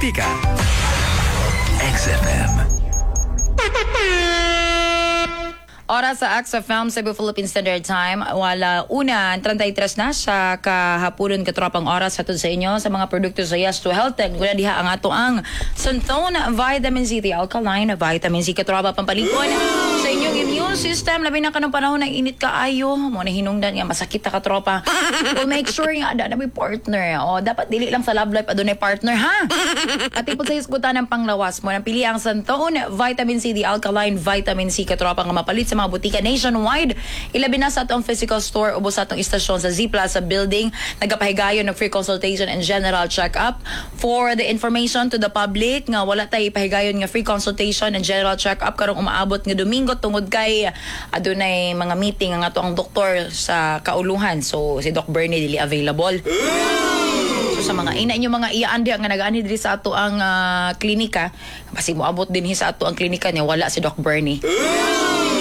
Tika. XFM. Oras sa XFM Cebu Philippine Standard Time, wala una, 33 na sa kahaponon, katropang, oras hatod sa inyo sa mga produkto sa Yes to Health Tech. Guna diha ang ato ang Santone Vitamin C, the alkaline vitamin C, katropa, pampalikon sa inyong immune system. Labi na kanong panahon ng init kaayo. Mo na hinungdan nga masakit ta, katropa. Well, make sure nga ada na may partner. O, dapat dili lang sa love life adunay partner, ha? At ipod sa hisgutan ng panglawas mo, nang pili ang Santone Vitamin C, the alkaline vitamin C, katropa, nga mapalit sa mga butika nationwide. Ilabi na sa atong physical store ubos sa atong istasyon sa Z Plaza Building. Nagapahigayon ng free consultation and general check-up. For the information to the public nga wala tay ipahigayon nga free consultation and general check-up karong umaabot nga Domingo tungod kay adunay mga meeting ang ato ang doktor sa kauluhan. So si Doc Bernie dili available. So sa mga ina inyo mga iyaan diha nga nagaani diri sa ato ang klinika, basig moabot dinhi sa ato ang klinika niya wala si Doc Bernie.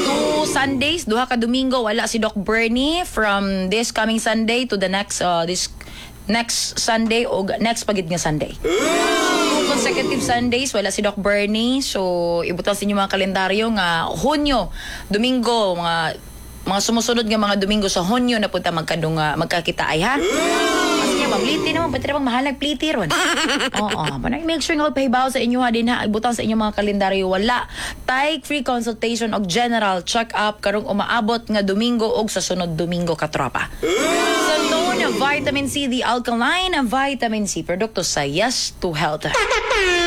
Two Sundays, duha ka Domingo wala si Doc Bernie, from this coming Sunday to the next this next Sunday o next pagid nga Sunday. Two consecutive Sundays wala si Doc Bernie. So ibutang sa inyo mga kalendaryo nga Hunyo, Domingo, mga sumusunod nga mga Domingo sa Hunyo na punta magkadunga magkakita ay ha. Kasi niya, mabliti naman, pwede bang mahal nagpliti ron. Oo, manang make sure nga magpahibaw sa inyo ha din ha, ibutang sa inyong mga kalendaryo, wala tay free consultation og general check-up karong umaabot nga Domingo og sa sunod Domingo, katropa. Santone Vitamin C, the alkaline vitamin C, produkto sa Yes to Health.